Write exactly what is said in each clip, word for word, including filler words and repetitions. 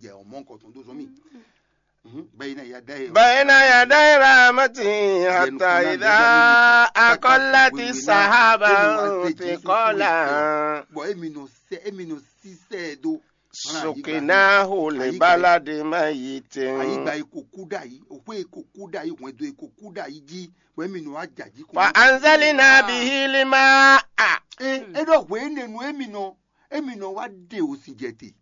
Ɛ, ɔmɔ nukɔn tɔn dó zɔn mì. Mhm. Bayna yadai. بين يدي رحمته حتى إذا أقلت سحابا ثقالا Bɔ emi nɔ sɛ, emi nɔ sisɛ do. سقناه لبلد ميت. Ayigba yi ko kú dà yìí, òkú yi ko kú dà yìí, hwɛndo yi ko kú dà yìí jí, bɔ emi nɔ wá jà jí kó. فأنزلنا به الماء. Ɛ, e ɖɔ hwɛ énɛnu emi nɔ, emi nɔ wá ɖe òsìnjɛte,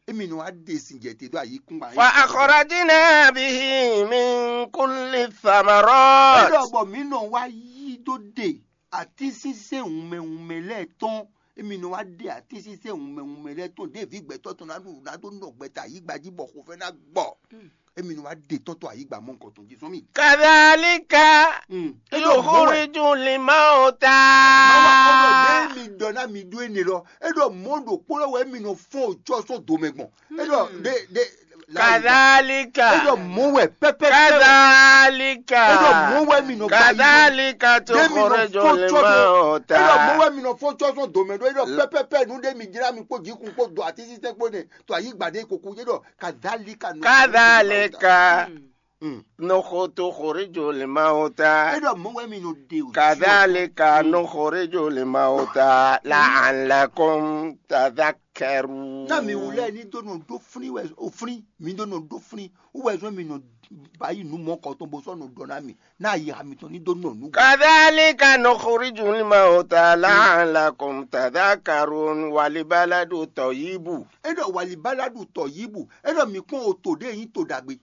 emi nɔ wá ɖe sìnjɛte ɖó ayikúngban yìí. فأخرجنا به من كل الثمرات. E ɖɔ bɔ mǐ nɔ wá yí dó ɖe atínsínsɛ́n wunmɛ wunmɛ lɛ́ɛ tɔn. Emi nɔ wá ɖe atínsínsɛ́n wunmɛ wunmɛ lɛ́ɛ tɔn ɖěvi gbɛtɔ́ tɔn ná ɖu ná dó nɔ gbɛta ayigba jí bɔ xofɛ ná gbɔ. Emi nɔ wá ɖe tɔn tɔn ayigba mɔ nukɔn tɔn jí sɔn mì. كذلك Mm. E ɖɔ mɔ wɛ. يخرج الموتى. Mawu akɔnɔ ɖe mi ɖɔ ná mi ɖó énɛ́ lɔ. E ɖɔ mɔ ɖokpó lɔ wɛ mi nɔ fɔn otsɔ sɔn domɛ gbɔn. E ɖɔ ɖe ɖe كذلك. E ɖɔ mɔ wɛ pɛpɛpɛ. كذلك. E ɖɔ mɔ wɛ mi nɔ ba yi. كذلك Ɖe mi nɔ تخرج fɔn otsɔ sɔn. الموتى. E ɖɔ mɔ wɛ mi nɔ fɔn otsɔ sɔn domɛ ɖo. E ɖɔ pɛpɛpɛ nu ɖe mi jlá mi kpó jikun kpó do atínsínsɛ́n kpó nɛ to ayigba ɖe koko. E ɖɔ kadhalika nɔ. كذلك Mm. نخ- تخرج الموتى. E ɖɔ mɔ wɛ mi nɔ ɖe o. كذلك نخرج الموتى لعلكم تذكرون. Ná mi wulɛ ní dó nɔ ɖó flín wɛ o flín, mi dó nɔ ɖó flín. Wú wɛ zɔn mi nɔ ba yi nǔ mɔ kɔ tɔn bó sɔ́ nɔ ɖɔ ná mi. Ná yi ha mitɔn ní dó nɔ nǔ. كذلك نخرج الموتى لعلكم تذكرون. والبلد الطيب. E ɖɔ walibaladu tɔ yibu. E ɖɔ mi kpɔn o to ɖe yin to ɖagbe.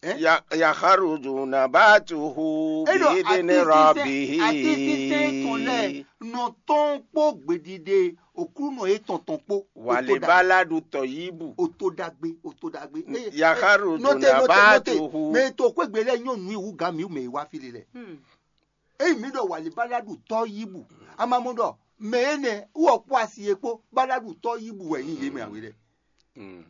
Eh? يخرج نباته بإذن ربه. Atínsínsɛ́n tɔn lɛ́ɛ nɔ tɔn kpó gbèdìde òkúnɔ yětɔn tɔn kpó. Walibaladu tɔyibu. Oto ɖagbe, oto ɖagbe. Yakharuju nabatuhu. Mɛ to kpégbé lɛ́ɛ nyɔ́ nǔ iwu gǎn mǐ mɛ yi wá fí lɛ. Eyi mǐ ɖɔ walibaladu tɔyibu. Amamú ɖɔ mɛ énɛ́ wɔ kpó asi e kpó baladu tɔyibu wɛ nyí yě mɛ awě lɛ.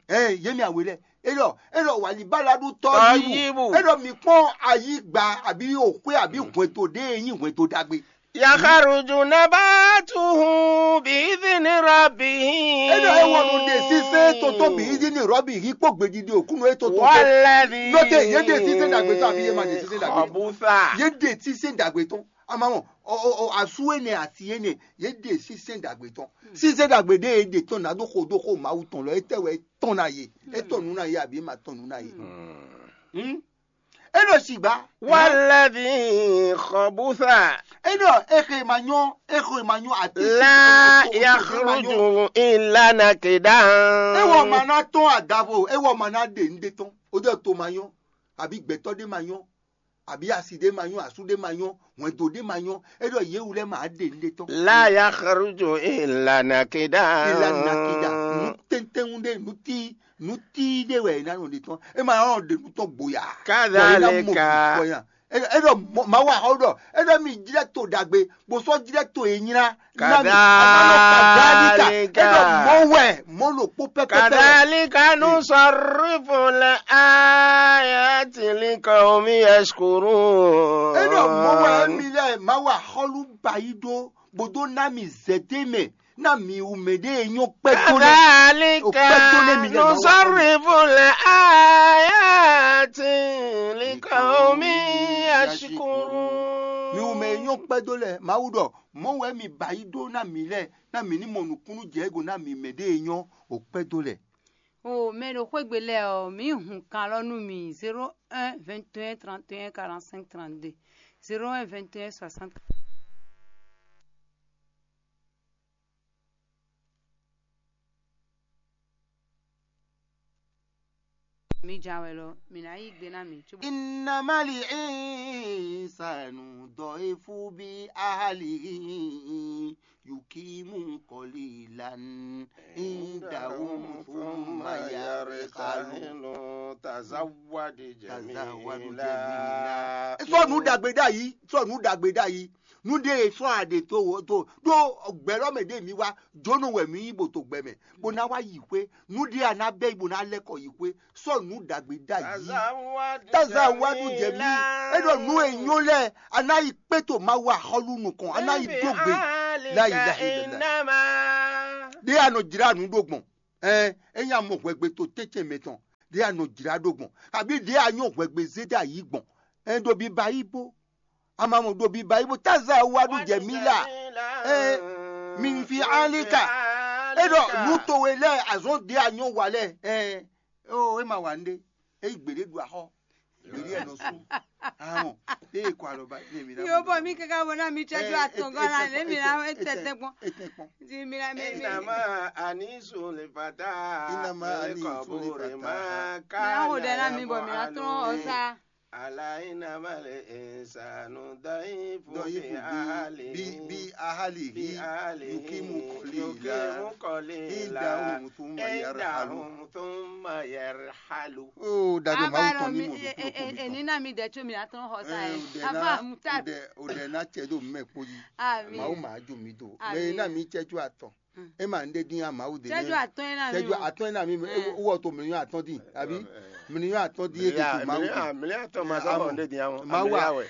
Ɛ yě mì awě lɛ. E ɖɔ e ɖɔ wali baladu tɔ yibu. E ɖɔ mi kpɔn ayigba àbí òxwé àbí hwɛnto ɖé e nyí hwɛnto ɖagbe. Yakharuju nabatuhu bi idhini rabbihi. E ɖɔ e wɔ nɔ ɖe sísɛ tɔntɔn bi idhini rabbihi kpó gbedidi òkúnɔ e tɔntɔn. Walladhi. Nɔte yé ɖe sísɛ dàgbé tɔn àbí yé ma ɖe sísɛ dàgbé tɔn. Khabusa. Yé ɖe sísɛ dàgbé tɔn. Amamɔ, ɔ ɔ ɔ asu énɛ́ asi énɛ́ yé ɖe sísɛ dàgbé tɔn. Sísɛ dàgbé ɖé e ɖe tɔn ná ɖó xo ɖó xo Mawu tɔn lɔ, étɛ́ wɛ é tɔn ná yé? É tɔn nǔ ná yé àbí é ma tɔn nǔ ná yé? Hmm? É ɖo sigba. Walladhi khabusa. É ɖɔ é xe ma nyɔ́, é xe ma nyɔ́ àti la yakhruju illa nakidan. É wɔ ma ná tɔn adavo, é wɔ ma ná ɖe nǔɖé tɔn. Ó jẹ́ to ma nyɔ́, àbí gbɛtɔ́ ɖé ma nyɔ́, àbí asi ɖé ma nyɔ́, asú ɖé ma nyɔ́, hwɛndo ɖé ma nyɔ́, é ɖɔ yě wú lɛ́ɛ ma ɖe nǔɖé tɔn. La yakhruju illa nakida. Illa nakida. Nú tɛntɛn ɖé, nú tí nú tí ɖé wɛ é ná nɔ ɖe tɔn. É ma nɔ ɖe nú tɔn gboya. Kadhalika. Bɔ é ná mɔ bɔ é ná. É ɖɔ Mawu axɔ ɖɔ é ɖɔ mi jlɛ́ to ɖagbe, bó sɔ́ jlɛ́ to e nylá. Kadhalika. É ɖɔ mɔ wɛ, mɔ ɖokpó pɛpɛpɛ. Kadhalika nusarrifu l-ayati liqawmi yashkurun. É ɖɔ mɔ wɛ mi lɛ Mawu axɔlu ba yi ɖó bó dó ná mi zɛtɛ́ mɛ ná mi wú mɛ ɖé e nyɔ́ kpɛ́ tó lɛ́. Kadhalika nusarrifu l-ayati liqawmi yashkurun. Mi wú mɛ e nyɔ́ kpɛ́ dó lɛ́. Mawu ɖɔ mɔ̌ wɛ mi ba yi ɖó ná mi lɛ́ɛ, ná mi ní mɔ nǔkúnnú jɛ ego ná mi mɛ ɖé e nyɔ́ o kpɛ́ dó lɛ́. O mɛ ɖo xwégbe lɛ́ɛ ɔ́, mǐ hun kan lɔ nú mi: zéro un vingt et un trente et un quarante-cinq trente-deux, zéro un vingt et un soixante. Mi jawɛ lɔ, mi ná yí gbe ná mi. Innama li insanu dɔifu bi ahalihi yukimu kɔlilan indahum thumma yarikalu. Tazawwadu jamila. Sɔ nǔ ɖagbe ɖ'ayǐ, sɔ nǔ ɖagbe ɖ'ayǐ. Nú ɖé e sɔ́ a ɖe tó tó ɖó gbɛ̌ lɔ́ mɛ ɖé mi wá jónɔ wɛ mi nyí bó to gbɛ mɛ, bó ná wá yi xwé. Nú ɖé a ná bɛ́ bó ná lɛ́ kɔ yi xwé, sɔ́ nǔ ɖagbe ɖ'ayǐ. Tazawwadu jamila. É ɖɔ nǔ e nyɔ́ lɛ́ɛ a ná yi kpé to Mawu axɔ́lú nukɔn, a ná yi dó gbe. La ilaha illallah. Ɖé a nɔ jlá nǔ ɖó gbɔn. Ɛn, é nya mɔ hwɛgbe to tɛ́ntin mɛ tɔn. ɖě a nɔ jlá ɖó gbɔn, kabí ɖě a nyɔ́ hwɛgbe zé dó ayǐ gbɔn. Ɛ ɖo biba yí bó, amamɔ ɖo biba yí bó, táza wa ɖu jɛ mí la. Ɛ mi fi alika. E ɖɔ nú towe lɛ azɔn ɖě a nyɔ́ wa lɛ. Ɛ o e ma wa nɖé. E yi gbeɖé ɖu axɔ. Gbeɖé ɛ nɔ sú. Ahɔn. E yi kɔ alɔ ba ne mi na. Yo bɔ mi kaka bɔ na mi tsɛ ju atɔngɔ la ne mi na e tɛtɛ kpɔn. E tɛ kpɔn. Di mi na mi mi. Inama anisu le fata. Inama anisu le fata. Mi na ho dɛ na mi bɔ mi na tɔn ɔsa. Ala inama le insanu dɔyifu. Dɔyifu bi ahali. Bi ahali. Yukimu kɔli la. Yukimu kɔli la. Indahu thumma yarhalu. Indahu thumma yarhalu. O dajɔ mawu tɔn ni mo do kulo ko mi tɔn. Eni na mi dɛ tso mi na tɔn xɔ sa yɛ. Afa muta. O dɛ na cɛ do mɛ kpo yi. Ami. Mawu ma jo mi do. Ami. Mɛ na mi cɛ tso atɔn. E ma nɖe din ya mawu de. Cɛju atɔn yɛ na mi. Cɛju atɔn yɛ na mi. Wɔ to mìíràn atɔn din abi mìíràn atɔn din e ke to mawu de. Mìíràn atɔn ma sɔ nɖe din ya. Mawu wa.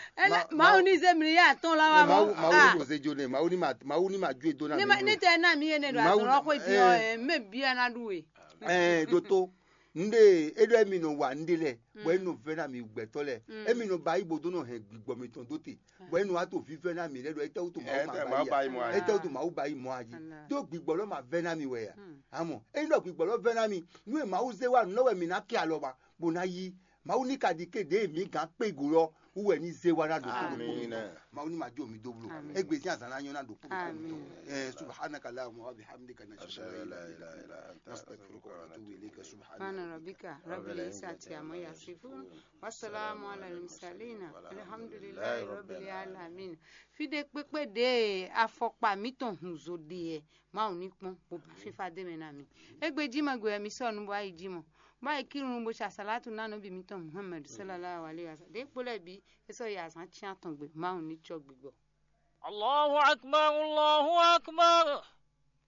Mawu ni ze mìíràn atɔn la wa mɔ. Mawu mawu ni mo ze jo ne mawu ni ma mawu ni ma ju edo na mi. Ni tɛ na mi yɛ ne do azɔn lɔ xɔ di ɔ mɛ bia na ɖu we. Ɛɛ doto nɖe e ɖɔ emi nɔ wa nɖe lɛ bɔ e nɔ vɛ na mi gbɛtɔ lɛ emi nɔ ba yi bo do nɔ hɛn gbigbɔ mitɔn do te bɔ e nɔ wa to vivɛ na mi lɛ ɖɔ etɛwutu mawu ma ba yi mɔ ayi etɛwutu mawu ba yi mɔ ayi do gbigbɔ lɔ ma vɛ na mi wɛ ya amɔ e nɔ gbigbɔ lɔ vɛ na mi nu e mawu ze wa nɔ wɛ mi na kɛ alɔ ma bo na yi mawu ni ka di ke ɖe mi gan kpe go lɔ wu wɛ ni ze wa na ɖo kpo ɖo kpo mi tɔn mawu ni ma jo mi do blo egbe sin azan na nyɔ na ɖo kpo ɖo kpo mi tɔn ɛ subhanaka allahumma wa bihamdika nashhadu an la ilaha illa anta nastaghfiruka wa natubu ilayka subhana rabbika rabbil izzati amma yasifun. Wasalaamu ala al-mursalina. Alhamdulilayi rabbil alamin. Fide kpekpe ɖe afɔkpa mitɔn hun zo ɖe yɛ. Mawu ní kpɔn bó bá fífá dé mɛ ná mi. Égbé jí ma gbe wɛ mi sɔ́ nu bó ayi jí mɔ. Bó ayi kírun bó ṣe àsálátù ná nɔbí mitɔn Muhammad sallallahu alayhi wa sallam. Ɖě kpó lɛ́ bǐ é sɔ́ yi azǎn cyán tɔn gbe. Mawu ní cɔ gbigbɔ. Allahu akbar, Allahu akbar.